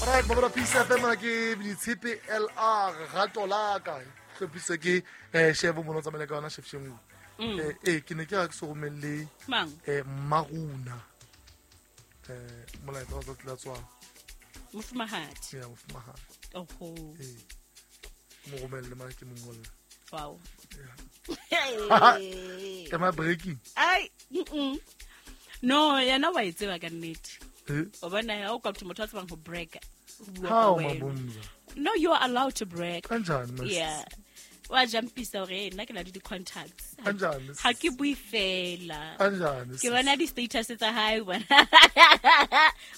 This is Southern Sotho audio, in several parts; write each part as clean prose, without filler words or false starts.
Alright, Mabala Peace FM mona ke Ditshepe LR rato la ka. Hlophiswe ke chef mono tsamaile ka yona chef Shengu. Ke ne ke ra ke se romelle Mang? Maruna. Molaetsa wa tsatsi la tswalo. Mofumahadi. Ya mofumahadi. Oho. Mo romelle mara ke mo ngolle. Wow. Yeah. Am I breaking? Ai, No, yena wa e tseba ka nnete. Eh? O bona ha o ka motho a tsebang ho break. How Mabumza? No, you are allowed to break. Kanjani mas? Yeah. Wa jumpisa hore nna ke na le di-contacts. Kanjani? Ha ke bue fela. Kanjani? Ke bona di-status tsa hae bona.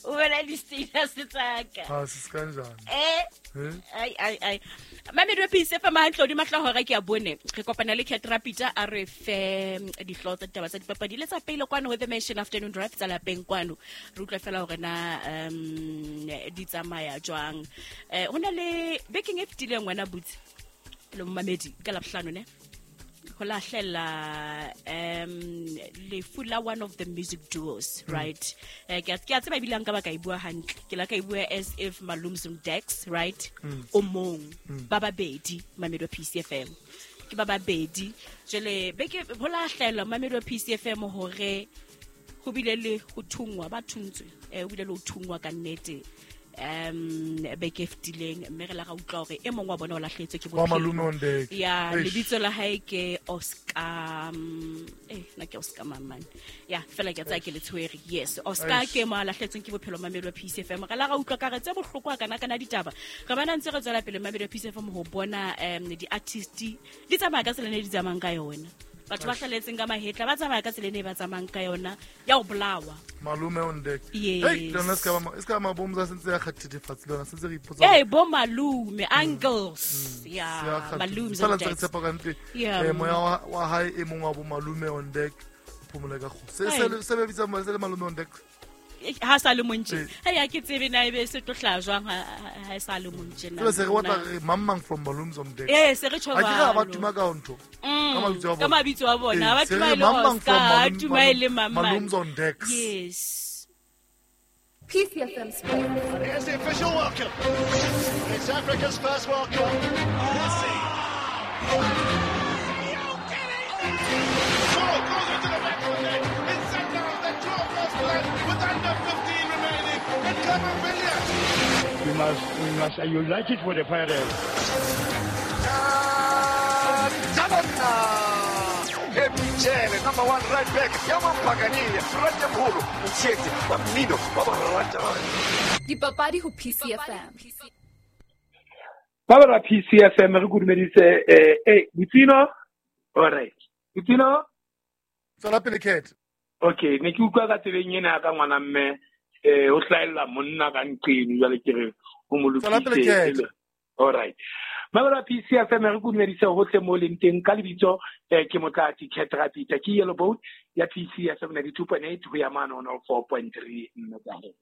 O bona di-status tsa ka. Ha sis kanjani? Eh? Ai ai ai. Mamedi wa Peace FM hantle di matla hora ke a bone. Re kopana le Cat Rapita a re fe dihlooho tsa ditaba tsa dipapadi le tsa pele kwano ho The Nation Afternoon Drive tsa lapeng kwano. Re utlwa fela hore na di tsamaya jwang. Ho na le bekeng e fetileng wena butse. Le momamedi ka Labohlano ne. Ho lahlela lefu la one of the music duos, right? Ke a tseba ebile nka ba ka e bua hantle. Ke la ka e bua as if Malumzum Dex, right? O mong ba babedi Mamedi wa Peace FM. Ke ba babedi. Jwale beke ho lahlela Mamedi wa Peace FM hore ho bile le ho thungwa ba thuntswe. Ho bile le ho thungwa ka nnete. Beke e fetileng mme re la ra utlwa hore e mong wa bona o lahlehetswe ke Wa bophelo. Malume on deck. Ya, Eish. lebitso la hae ke Oscar, nna ke Oscar mang man. Ya, fela ke a tsaya ke le tshwere. Yes, Oscar Eish. ke mo a lahlehetsweng ke bophelo Mamedi wa Peace FM. Re la ra utlwa ka re tse bohloko kana kana ditaba. Re bana ntse re tswela pele Mamedi wa Peace FM ho bona di-artist di tsamaya ka tsela e di tsamayang ka yona. Batho ba hlaletseng ka mahetla ba tsamaya ka tsela e ba tsamayang ka yona ya ho bolawa. Malume on deck. Yes. Hey, lona se ka ba se ka Mabumza sentse ya kgathethefatsi lona sentse re ipotsa. Hey, bo malume, uncles. Yeah, Malumz on Fela ntse re deck. tshepa ka nnete. Yeah. Moya wa hae e mong wa bo Malume on deck phomole ka kgotso. Se Hey. se be bitsa se le Malume on deck. Ha sa le montje. Ha ya ke tsebe na ebe se tlo hlaha jwang ha sa le montje na. Se re batla re mang from Malumz on deck. Se re tjho Ha ke re ba jwalo. tuma ka ntho. Ka mabitso a Ka bona. mabitso a bona. Ba Se tuma re e le mang Oscar, from ba tuma e le mang mang. Malumz on deck. Yes. PCFM Sports. Here's the official welcome. It's Africa's first World Cup. Messi. Ball goes into the back of the net. It's Sundowns that draw first blood with under 15 remaining. And Camavinga. We must unite it for the Pirates. Michele, number 1 right back. Yamampagania, Rajampolo, Mchete, Bamino, Baba. Dipapadi ho PCFM. Baba PCFM re kudumedise Butsino. All right. Butsino? Tswela pele Cat. Okay, ne ke utlwa ka tsebeng ena ka ngwana mme o hlaella monna ka nqeng jwale ke re o mo Tswela pele Cat. lokise. All right. Mabala PCFM re kudumedise hohle mo leng teng ka lebitso ke Motlatsi Cat Rapita ke Yellow Boat ya PCFM 92.8 ho ya mane 104.3 megahertz.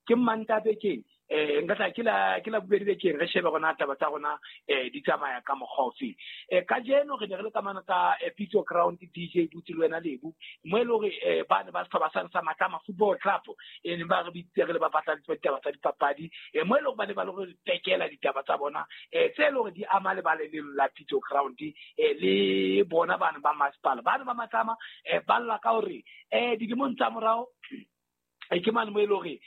Ke Manta bekeng nka tla ke la bobedi bekeng re shebe rona taba tsa rona di tsamaya ka mokgwa ofe. Kajeno re ne re le ka mane ka Pitso Ground DJ Butsi le wena Lebo mo e le hore ba ne ba sehlopha sa sa Matlama Football Club ne ba re bitsitse re le ba batla ditaba tsa dipapadi mo e le hore ba ne ba le re tekela ditaba tsa bona tse e le hore di ama lebala leno la Pitso Ground le bona bana ba masepala bana ba Matlama ba lla ka hore dilemong tsa morao ke mane mo e le hore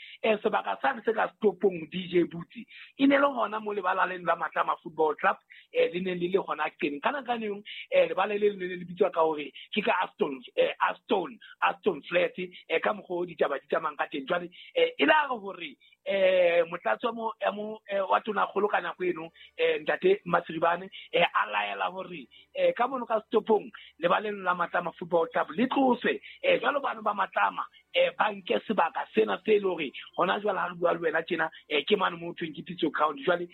sebaka sane se ka stopong DJ Butsi e ne le hona mo lebala leno la Matlama Football Club le neng le le hona Qeneng. Ka nako eno lebala le le le bitswa ka hore ke ka Aston Flat ka mokgwa o ditaba di tsamayang ka teng. Jwale e la re hore motlatsi wa tonakgolo ka nako eno ntate Masiribane a laela hore ka mono ka stopong lebaleng la Matlama Football Club le tloswe jwalo bana ba Matlama ba nke sebaka sena se le hore hona jwale ha re bua le wena tjena ke mane mo thweng ke Pitso Ground. Jwale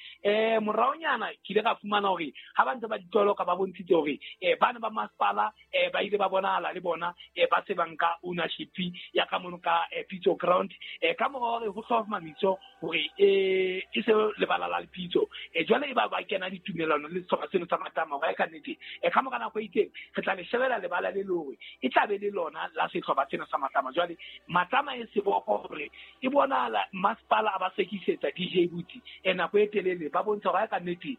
moraonyana ke ile ka fumana hore ha ba ntse ba ditoloka ba bontshitse hore bana ba masepala ba ile ba bonahala le bona ba se ba nka ownership ya ka mono ka Pitso Ground ka mora hore ho hlomamiswe hore e se lebala la Pitso jwale e ba ba kena ditumellano le sehlopha seno sa Matlama hore ka nnete ka mora nako e itseng re tla le shebela lebala le le hore e tla be le lona la sehlopha sena sa Matlama. Jwale Matlama e seboko hore e bonahala masepala a ba sekisetsa DJ Buti nako e telele ba bontsha hore ka nnete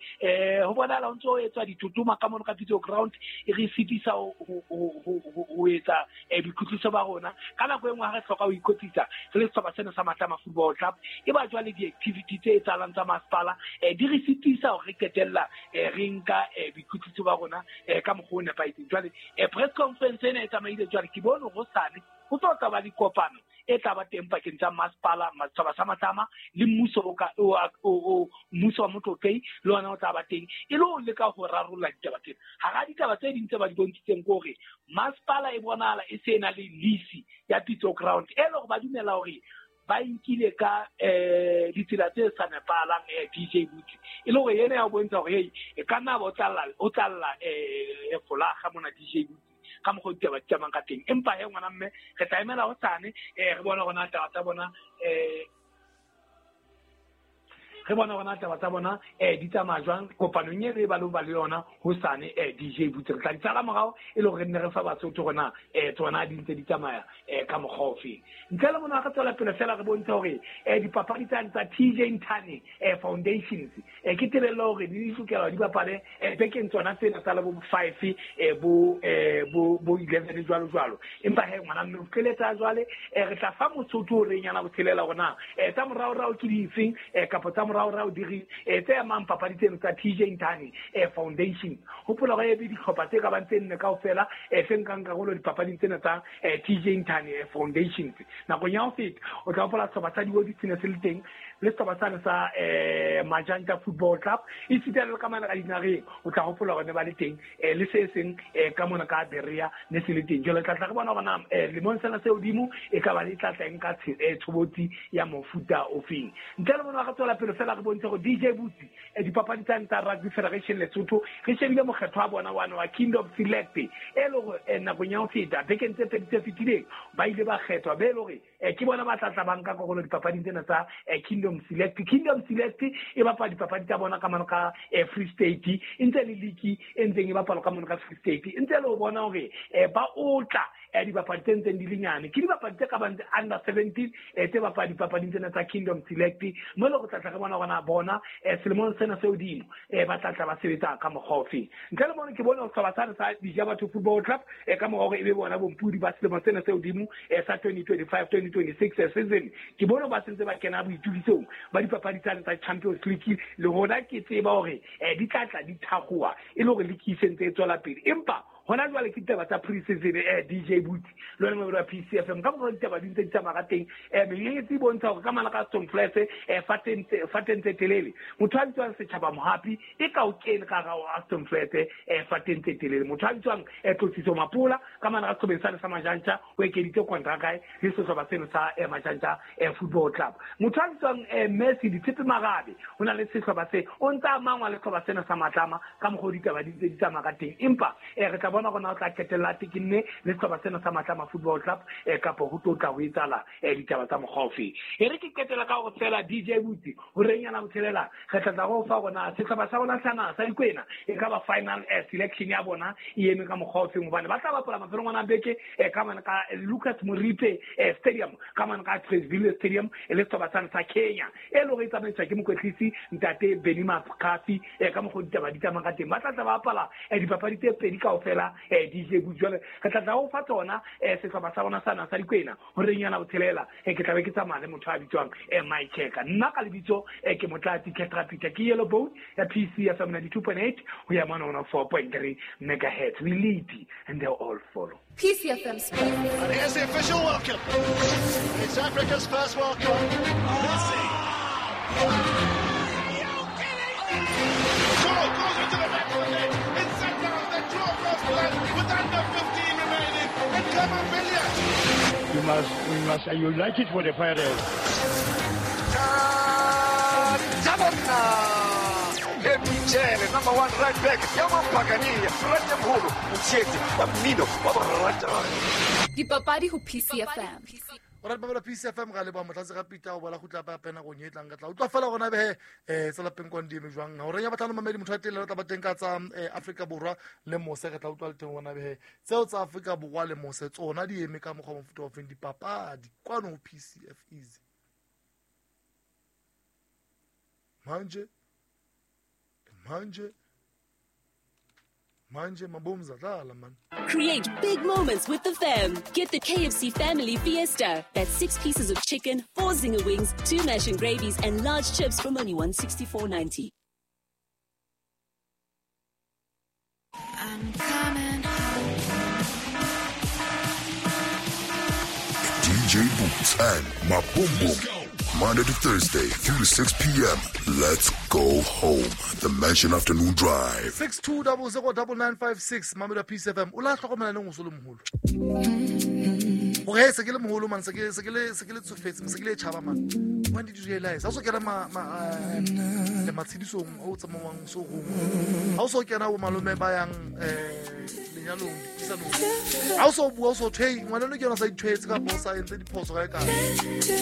ho bonahala ho ntso ho etswa ditotoma ka mono ka Pitso ground e re sitisa ho etsa boikwetliso ba rona. Ka nako e nngwe ha re hloka ho ikwetlisa re le sehlopha sena sa Matlama Football Club, e ba jwale di-activity tse etsahalang tsa masepala di re sitisa hore re qetella re nka boikwetliso ba rona ka mokgwa o nepahetseng. Jwale press conference ena e tsamaile jwale, ke bone hosane ho tlo tla ba dikopano e tla ba teng pakeng tsa masepala, setjhaba sa Matlama le mmuso mmuso wa Motlotlei le ona o tla ba teng e le ho leka ho rarolla ditaba tsena. Hara ditaba tse ding tse ba di bontshitseng ke hore masepala e bonahala e se na le lease ya Pitso ground, e le hore ba dumela hore ba nkile ka ditsela tse sa nepahalang DJ Buti, e le hore yena ya bontsha hore hey e ka nna ba o tlalla folaga mona DJ Buti ka mokgwa ditaba di tsamayang ka teng. Empa he ngwana mme re tla emela hosane re bona hore taba tsa bona re bona hore taba tsa bona di tsamaya jwang kopanong e re ba lo ba le yona hosane DJ Buti. Re tla di tsala morao e le hore re nne re fa Basotho rona tsona di ntse di tsamaya ka mokgwa ofe. Ntle le mona re tswela pele fela re bontsha hore dipapadi tsa TJ Ntane Foundations ke tebello hore di lokela di bapale bekeng tsona tsena tsa bo 5 bo 11 jwalo jwalo. Empa he ngwana mme o qeletsa jwale re tla fa Mosotho o reng yana botshelela rona tsa moraorao ke difeng kapa tsa moraorao di re tse amang papadi tseno tsa TJ Ntane Foundation. Hopola hore ebe dihlopha tse ka bang tse nne kaofela tse nkang karolo dipapading tsena tsa TJ Ntane Foundations. Nakong ya ho feta o tla hopola sehlopha sa Diodi se ne se le teng le sehlopha sane sa Majanta Football Club, esita le ka mane ka dinareng o tla hopola hore ne ba le teng le se seng ka mona ka Berea ne se le teng. Jwale tla tla re bona hore na lemong sena se hodimo e ka ba le tla tla nka tshobotsi ya mofuta ofeng. Ntle le mona re tswela pele fela re bontshe hore DJ Buti dipapadi tsa Rugby Federation Lesotho re shebile mokgetho wa bona wa Kingdom Select e le hore nakong ya ho feta bekeng tse pedi tse fetileng ba ile ba kgethwa be le hore ke bona ba tla tla ba nka karolo dipapading tsena tsa Kingdom Select. Kingdom Select e bapala dipapadi tsa bona ka mano ka Free State, e ntse le league e ntseng e bapalwa ka mano ka Free State, e ntse le ho bona hore ba otla dipapadi tse ntseng di le nyane. Ke dipapadi tse ka bang under 17 tse bapala dipapading tsena tsa Kingdom Select, mo le go tla tla re bona hore na bona selemong sena se hodimo ba tla tla ba sebetsa ka mokgwa ofe. Ntle le mona ke bone hore sehlopha sane sa Dijabatho Football Club ka mora hore e be bona bompudi ba selemo sena se hodimo sa 2025-2026 season, ke bone ba sentse ba kena boitukisong ba dipapadi tsane tsa Champions League. Le hona ke tseba hore di tla tla di thakgowa e le hore league e sentse e tswela pele, empa hona jwale ke ditaba tsa pre-season DJ Buti le wena mobedi wa PCFM ka mokgwa ditaba di ntse di tsamaya ka teng. Menyenyetsi e bontsha hore ka mala ka Stone Flats fateng tse telele motho a bitswang Setjhaba Mohapi e ka o kene ka hara Aston Flats fateng tse telele. Motho a bitswang Tlotsiso Mapola ka mala ka sehlobeng sane sa Majantja o ekeditse kontraka le sehlopha seno sa Majantja Football Club. Motho a bitswang Messi Ditshepe Marabe ho na le sehlopha se o ntse a mangwa le sehlopha sena sa Matlama ka mokgwa ditaba di ntse di tsamaya ka teng. Empa re tla bona rona o tla qetella tekinne le sehlopha sena sa Matlama Football Club kapa ho tlo tla ho etsahala ditaba tsa mokgwa ofe. E re ke qetela ka hore fela DJ Buti ho renyana botshelela re tla tla go fa rona sehlopha sa rona sa sa Dikwena e ka ba final selection ya bona e eme ka mokgwa ofe, hobane ba tla bapala mafelong a beke ka mane ka Lucas Moripe Stadium ka mane ka Traceville Stadium e le sehlopha sane sa Kenya e le hore e tsamaiswa ke mokwetlisi ntate Benny Makafi ka mokgwa ditaba di tsamaya ka teng. Ba tla tla bapala dipapadi tse pedi kaofela DJ Buti. Jwale re tla tla ho fa tsona sehlopha sa rona sa Dikwena ho renyana botshelela ke tla be ke tsamaya le motho a bitswang Mike Cheka. Nna ka lebitso ke Motlatsi Ketrapita ke Yellow Bone ya PCFM 92.8 ho ya mona 104.3 megahertz. We lead and they all follow. PCFM Sports. And here's the official welcome. It's Africa's first World Cup. Messi. Are you kidding me? Goal goes into the back of the net. It's set down. The draw first blood with under 15 remaining. And Camavinga. We must unite it for the Pirates. Number one right back, Yamampagania, Ratemholo, Mtshetsi, wa mmino wa borata. Dipapadi ho PCFM. O rata mamela PCFM ga leboa motlatsi ga Peter o bola gutla pa pena go nyetlang ka tla utlwa fela gona behe tsa lapeng kwang di eme jwang ga o renya batlhano mamedi motho wa teng le re tla ba teng ka tsa Afrika Borwa le mose re tla utlwa le teng gona behe tseo tsa Afrika Borwa le mose tsona di eme ka mokgwa wa mofuta wa feng dipapadi kwano ho PCF easy manje manje manje mabomza dlala man. Create big moments with the fam. Get the KFC Family Fiesta. That's 6 pieces of chicken, 4 zinger wings, 2 mash and gravies, and large chips from only $164.90. I'm coming home. DJ Boots and Maboom. Monday to Thursday, 3 to 6 p.m. Let's go home. The Mansion Afternoon Drive. 62009956 Mamela Peace FM. O la hlokomela neng o so le moholo? Hore se ke le moholo man, se ke le tsofetse, se ke le tjhaba man. When did you realize? Ha o so kena le matshedisong o tsamawang so gong. Ha o so kena bo malome ba yang lenyalong dipisanong. Ha o so bua o so thwe ngwana no ke yona sa ithwetse kapa o sa entse diphoso ga e kae.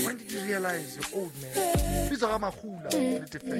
When did you realize you're old man? Bitso ga magula le tefelo.